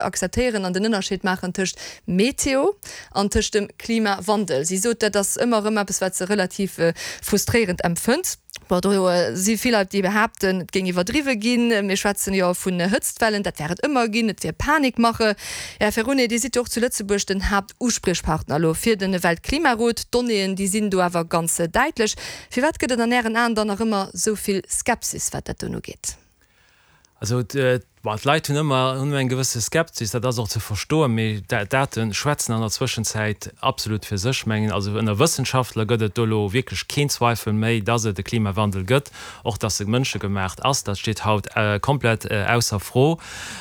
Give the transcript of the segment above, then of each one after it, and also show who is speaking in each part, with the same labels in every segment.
Speaker 1: Akzeptéieren an den Ënnerscheed maachen tëscht Meteo an tëscht dem Klimawandel. Si sot, dat ass ëmmer erëm eppes, wat se relativ frustréierend empfënnt. Bon, do si vill Leit, déi behaapten, et géing iwwerdriwwe ginn. Mir schwätzen jo vun Hëtztwellen, dat wär et ëmmer ginn, et wier Panikmache. Här Ferone, Dir sidd jo och zu Lëtzebuerg den Haaptuspriechpartner elo fir de Weltklimarot. D'Donnéeën, déi sinn do awer ganz däitlech. Firwat gëtt et an Ären Aen dann nach ëmmer esou vill Skepsis, wat dat do ugeet?
Speaker 2: Also d'Leit hunn ëmmer hunn eng gewësse Skepsis, dat ass och ze verstoen, mee d'Date schwätzen an der Zwëschenzäit absolut fir sech. Mengen also ënner Wëssenschaftler gëtt et do elo wierklech keen Zweifel méi, datt et e Klimawandel gëtt, och datt e mënschegemacht ass, dat steet haut komplett ausser Fro.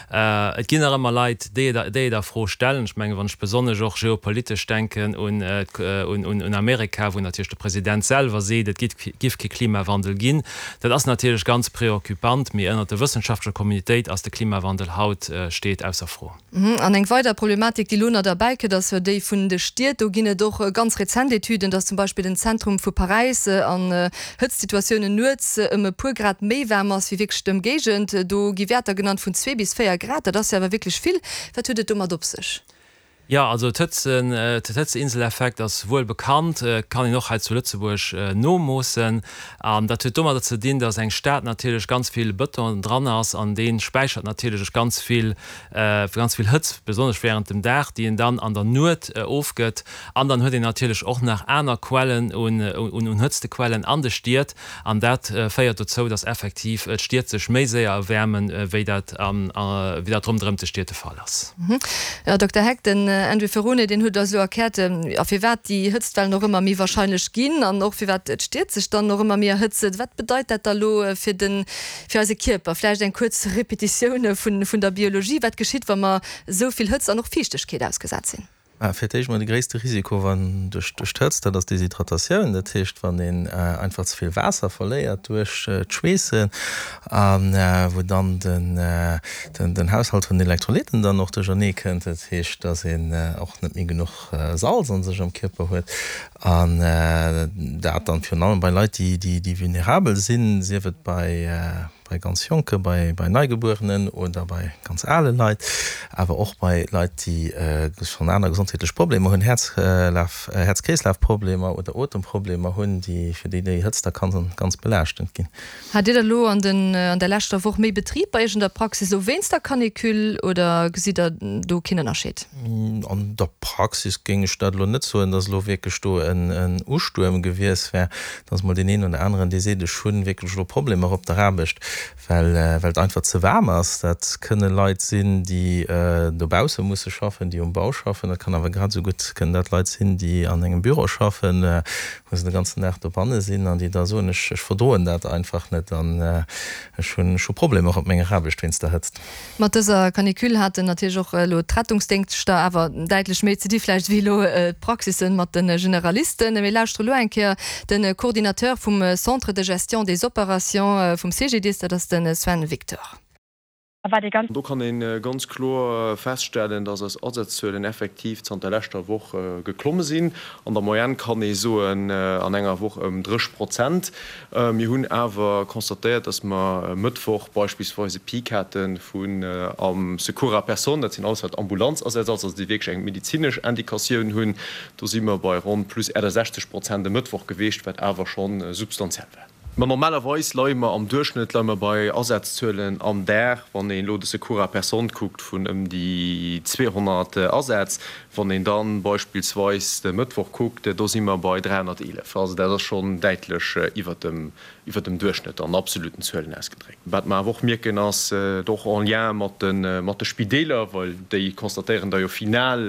Speaker 2: Et ginn nach ëmmer Leit, déi et déi et a Fro stellen. Ech mengen, wann ech besonnesch och geopolitesch denken un un Amerika, wou natierlech de President selwer seet, et giff kee Klimawandel ginn, Dat ass natierlech ganz preoccupant, mee ënnert der wëssenschaftlecher Communitéit ass de Klimawandel haut steet ausser Fro.
Speaker 1: An eng weider Problematik, déi elo nach derbäi kënnt, ass jo déi vun de Stied. Do ginn et och ganz rezent Etüden, dass zum Beispill den Zentrum vu Paräis an Hëtztsituatiounen nuets ëm e puer Grad méi waarm ass wéi wierklech d'Ëmgéigend. Do gi Wäerter genannt vun zwee bis 4 Grad. Dat ass jo awer wierklech vill. Wat huet et domat op sech?
Speaker 2: Jo, also d'Hëtzen, den Hëtzeinseleffekt ass wuel bekannt, kann een och hei zu Lëtzebuerg nomoossen. An dat huet domadder ze dinn, datt eng Stad natierlech ganz vill Bëton dran ass an dee späichert natierlech ganz vill, ganz vill Hëtzt, besonnesch wärend dem Dag, déi en dann an der Nuet ofgëtt. An dann huet een natierlech och nach aner Quellen un, un Hëtztequellen an de Stied. An dat féiert dozou, datt effektiv d'Stied sech méi séier erwäermen, wéi dat, wéi dat ronderëm de Stied de Fall ass.
Speaker 1: Här Dokter Heck, den Andrew Ferrone, deen huet eis elo erkläert, jo, firwat déi Hëtztwellen och ëmmer méi wahrscheinlech ginn an och firwat d'Stied sech dann och ëmmer méi erhëtzen. Wat bedeit dat da elo fir den, fir eise Kierper? Vläicht eng kuerz Repetitioun vun, vun der Biologie. Wat geschitt, wa mer esou vill Hëtzt an och Fiichtegkeet ausgesat sinn?
Speaker 3: Mä fir d'éischt mol de gréisste Risiko wann duerch d'Hëtzt, dat ass d'Deshydratatioun. Dat heescht, wann een einfach ze vill Waasser verléiert duerch d'Schweessen a wou dann den Haushalt vun den Elektrolyten dann och duerchernee kënnt. Dat heescht, datt een och net méi genuch Salz an sech am Kierper huet an dat dann virun allem bei Leit, déi vulnerabel sinn, sief et bei bei ganz Jonke, bei Neigebuerenen oder bei ganz ale Leit, awer och bei Leit, déi schonn aner gesondheetlech Problemer hunn, Häerzlaf, Häerz-Kreeslaf-Problemer oder Otemproblemer hunn, déi, fir déi déi Hëtzt da kann ganz belaaschtend ginn.
Speaker 1: Hat Dir da lo an den, an der leschter Woch méi Betrib bei Iech an der Praxis elo wéinst der Canicule oder gesitt Der do keen Ënnerscheed?
Speaker 3: An der Praxis géing ech dat elo net soen, dass elo wierklech do en Ustuerm gewies wär. Et ass mol deen een oder aneren, dee seet, ech hu wierklech elo Problemer op der Aarbecht, well well et einfach ze waarm ass. Dat kënne Leit sinn, déi dobausse musse schaffen, déi um Bau schaffen. Dat kann awer grad esou gutt kënnen dat Leit sinn, déi an engem Büro schaffen, wou se de ganzen Dag dobanne sinn an déi da soen, ech ech verdroen dat einfach net an ech hunn ech hu Problemer op menger Aarbecht wéinst der Hëtzt.
Speaker 1: Mat dëser Canicule haten natierlech och elo d'Rettungsdéngschter awer däitlech méi ze di vläicht wéi elo d'Praxissen mat de Generalisten. Mir lauschtere elo eng Kéier de Coordinateur vum Centre de gestion des opérations vum CGDIS, dat ass de Sven Victor.
Speaker 4: Do kann ee ganz kloer feststellen, dass eis Asazzuelen effektiv zanter leschter Woch geklomme sinn. An der Moyenne kann ee soen, an enger Woch ëm 30 Prozent. Mir hunn awer constatéiert, dass mer e Mëttwoch beispillsweis e Peak hate vun am Secours à personne, dat sinn alles wat Ambulanzasätz ass, also déi wierklech eng medezinesch Indikatioun hunn, do si mer bei ronn plus 68 Prozent e Mëttwoch geweecht, wat awer scho substantiell war. Mä normalerweis leie mer am Duerchschnëtt leie mer bei Asazzuelen am Dag, wann een elo de Secours à personne kuckt, vun ëm déi 200 Asätz. Wann een da beispillsweis de Mëttwoch kuckt, do si mer bei 311. Also dat ass schonn däitlech iwwert dem, iwwert dem Duerchschnëtt an absoluten Zuelen ausgedréckt. Wat mer awer och mierken ass, och en lien mat de, mat de Spideeler, well déi constatéieren da jo final,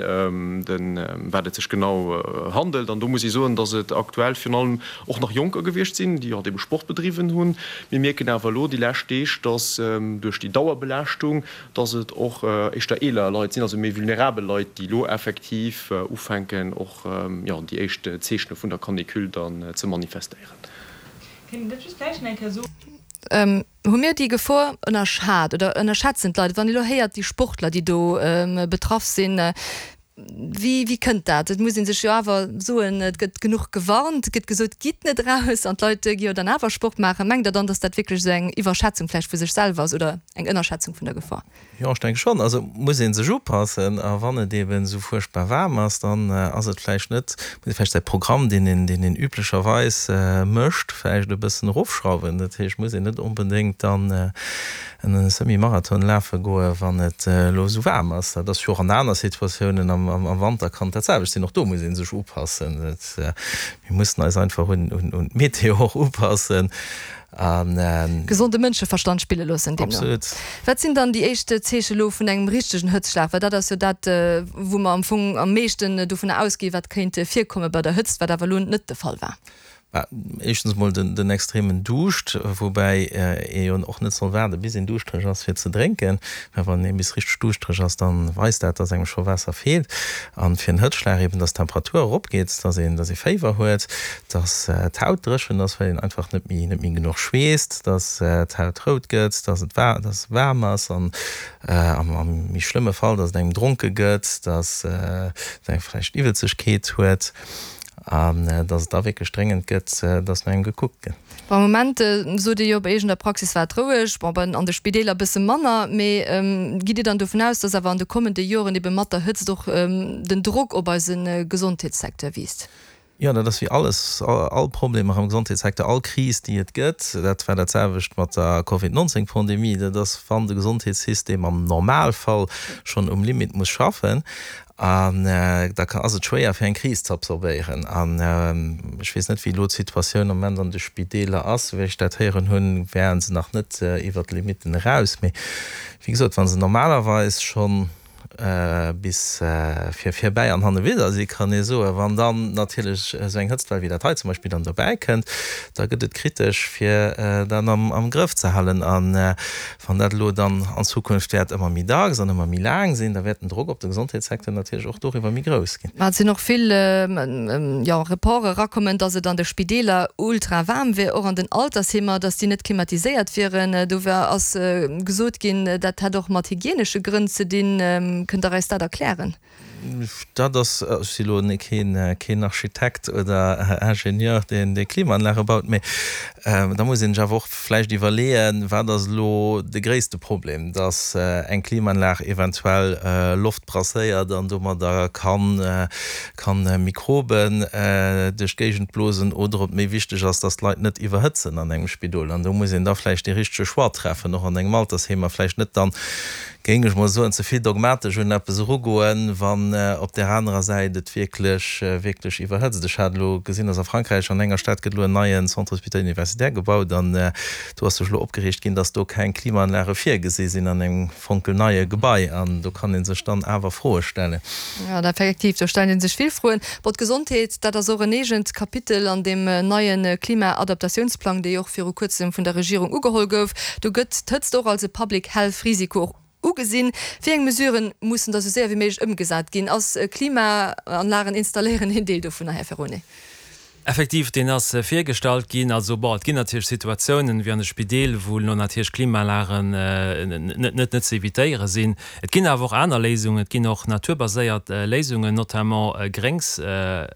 Speaker 4: den, ëm wat et sech genau handelt. An do muss ee soen, datt et aktuell virun allem och nach Jonker gewiescht sinn, déi halt ebe Sport bedriwwen hunn. Mir mierken awer elo déi lescht Deeg, datt duerch déi Dauerbelaaschtung, dass et och éischter eeler Leit sinn, also méi vulnerabel Leit, déi elo effektiv ufänken och, jo, déi éischt Zeechene vun der Canicule dann ze manifestéieren.
Speaker 1: Kéint een dat just vläicht nach eng Kéier soen? Hu mir déi Gefor ënnerschat oder ënnerschätzen d'Leit et? Wann ee elo héiert, déi Sportler, déi do betraff sinn. Wéi, wéi kënnt dat? Et muss ee sech jo awer soen, et gëtt genuch gewarnt, et gëtt gesot, gitt net eraus, an d'Leit gi jo dann awer Sport maachen. Mengt Der dann, datt dat wierklech esou eng Iwwerschätzung vläicht vu sech selwer ass oder eng Ënnerschätzung vun der Gefor?
Speaker 3: Jo, ech denke schonn. Also muss ee sech upassen. A wann et eeben esou fuerchtbar waarm ass, dann ass et vläicht net, muss ee vläicht säi Programm, deen een, deen een üblecherweis mécht, vläicht e bëssen erofschrauwen. Dat heescht, muss een net onbedéngt dann en Semi-Marathon lafe goen, wann et elo esou waarm ass. Dat ass jo och an aner Situatiounen, am Wanter kann et dat selwecht sinn. Och do muss ee sech upassen. Mir mussen eis einfach un d'Meteo och upassen.
Speaker 1: Gesonde Mënscheverstand spille loossen deemno.
Speaker 3: Absolut.
Speaker 1: Wat sinn dann déi éischt Zeeche lo vun engem richtegen Hëtzschlag? Well dat ass jo dat, wou mer am Fong am meeschten dovunner ausginn, wat kéint virkomme bei der Hëtzt, wat awer elo net de Fall war.
Speaker 3: Bah, éischtens emol den extremen Duuscht, woubäi ee jo och net soll waarde bis een duuschtereg ass fir ze drénken, well wann ee bis richteg duuschtereg ass, da weist dat, dass engem scho Waasser feelt. An fir en Hëtzschlag eben, dass d'Temperatur eropgeet, dass een, dass ee Féiwer huet, dass d'Haut dréchen ass, well een einfach net méi, net méi genuch schweesst, dass d'Haut rout gëtt, dass et wa, dass et waarm ass an am méi schlëmme Fall, dass et engem dronke gëtt, dass et eng vläicht Iwwelzegkeet huet. An dass et da wierklech dréngend gëtt, dass no engem gekuckt gëtt.
Speaker 1: Bon, am Moment sot Dir jo, bei Iech an der Praxis war et roueg, bon, bei an de Spideeler e bësse manner. Mee gitt Dir dann dovun aus, dass awer an de kommende Joren ebe mat der Hëtzt och den Drock op eise Gesondheetssecteur wiisst?
Speaker 3: Jo, dat ass wéi alles, all Problemer am Gesondheetssecteur, all Kris, déi et gëtt, dat war dat selwecht mat der Covid 19 Pandemie, dat ass, wann de Gesondheetssystem am Normalfall schonn um Limit muss schaffen, An da ass et schwéier fir eng Kris ze absorbéieren. An ech weess net, wéi elo d'Situatioun am Moment an de Spideeler ass. Souwéi ech dat héieren hunn, wären se nach net iwwert d'Limitten eraus. Mee wéi gesot, wa se normalerweis schonn bis vir virbäi an hannewidder si, kann ee soen, wann dann natierlech esou eng Hëtztwell wéi dat hei zum Beispill dann dobäi kënnt, da gëtt et kritesch fir dat am Grëff ze halen. An Wann dat elo dann an Zukunft wäert ëmmer méi dacks an ëmmer méi laang sinn, da wäert den Drock op de Gesondheetssecteur natierlech och doriwwer méi grouss ginn.
Speaker 1: Mä et sinn och vill, jo, Reporte erakommen, datt et an de Spideeler ultra waarm wier, och an den Altersheemer, datt déi net klimatiséiert wieren. Do war, ass gesot ginn, dat hätt och mat hygienesche Grënn ze dinn. Kënnt Der eis dat erklären?
Speaker 3: Dat ass, ech si elo keen Architekt oder Ingenieur, deen déi Klimaanlage baut, mee da muss een sech awer och vläicht iwwerleeën, wat ass elo de gréisste Problem, datt eng Klimaanlag eventuell Loft brasséiert an domadder kann Mikroben duerch d'Géigend blosen, oder ob méi wichteg ass, datt d'Leit net iwwerhëtzen an engem Spidol. An do muss een da vläicht dee richtege Choix treffen, och an engem Altersheem, a vläicht net dann géing ech mol soen, ze vill dogmatesch un eppes erugoen, wann op där anerer Säit et wierklech, wierklech iwwerhëtzt. Ech hat elo gesinn, dass a Frankräich an enger Stad gëtt elo en neien Centre hospitalier universitaire gebaut an do ass sech elo opgereegt ginn, dass do keng Klimaanlage virgesi sinn an engem fonkelneie Gebai an do kann ee sech dann awer Froe stellen.
Speaker 1: Jo, effektiv, do stellt ee sech vill Froen. Bon, d'Gesondheet, dat ass och en eegent Kapitel an deem neie Klimaadaptatiounsplang, dee jo och viru kuerzem vun der Regierung ugeholl gouf. Do gëtt d'Hëtzt och als e Public Health Risiko och ugesinn. Wéi eng Mesuren mussen da sou séier wéi méiglech ëmgesat ginn? Ass Klimaanlagen installéieren een Deel dovunner, Här Ferone?
Speaker 2: Effektiv, deen ass virgestallt ginn. Also, bon, et ginn natierlech Situatiounen, wéi an de Spideel, wou elo natierlech Klimaanlagen net, net ze evitéiere sinn. Et ginn awer och aner Léisungen. Et ginn och naturbaséiert Léisungen, notamment Gréngs,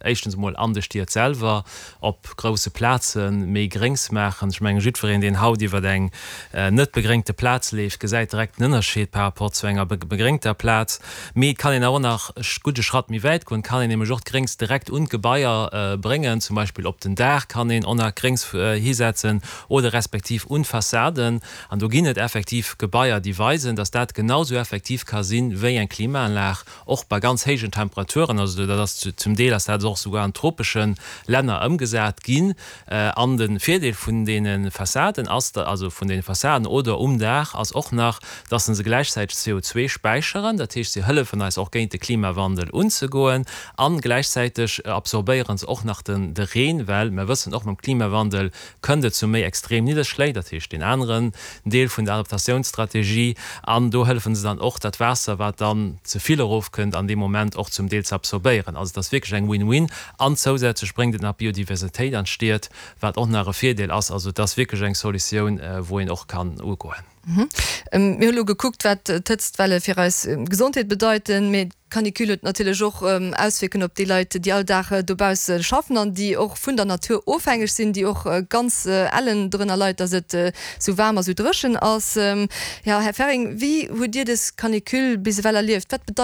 Speaker 2: éischtens emol an de Stied selwer, op grousse Plaze méi Gréngs maachen. Ech mengen, jiddwereen, deen haut iwwer eng net begréngte Plaz leeft, gesäit direkt den Ënnerscheed par rapport zu enger begréngter Plaz. Mee et kann een awer och nach e gudde Schratt méi wäit goen. Et kann een nämlech och d'Gréngs direkt un d'Gebaier bréngen. Zum Beispill op den Daach kann een och nach Gréngs hisetzen oder respektiv un d'Fassaden. An do ginn et effektiv Gebaier, déi weisen, dass dat genau sou effektiv ka sinn, wéi eng Klimaanlag. Och bei ganz héijen Temperaturen, also dat ass zum Deel ass dat och souguer an tropesche Länner ëmgesat ginn. An de Virdeel vun deene Fassaden ass, also vun deene Fassaden oder um Daach ass och nach, dass se gläichzäiteg CO2 späicheren, dat heescht se hëllefen eis och géint de Klimawandel unzegoen a gläichzäiteg absorbéiere se och nach de Reen, well mer wëssen och mam Klimawandel kënnt et zu méi extrem Nidderschléi, dat heescht deen aneren Deel vun der Adaptatiounsstrategie, an do hëllefen se dann och, dat Waasser, wat dann ze vill erofkënnt, an deem Moment och zum Deel ze absorbéieren. Also et ass wierklech eng Win-win. An zousätzlech bréngt et nach Biodiversitéit an d'Stied, wat och nach e Virdeel ass. Also et ass wierklech eng Solutioun, wou een och kann ugoen.
Speaker 1: Mir hu lo gekuckt, wat d'Hëtztwelle fir eis Gesondheet bedeiten, mee d'Canicule huet natierlech och Auswierkungen op déi Leit, déi all Dag dobausse schaffen an déi och vun der Natur ofhängeg sinn, déi och ganz ellen drënner leit, datt et sou waarm a sou dréchen ass. Jo, Här Ferring, wéi hutt Dir dës Canicule bis ewell erlieft? Wat bedeit.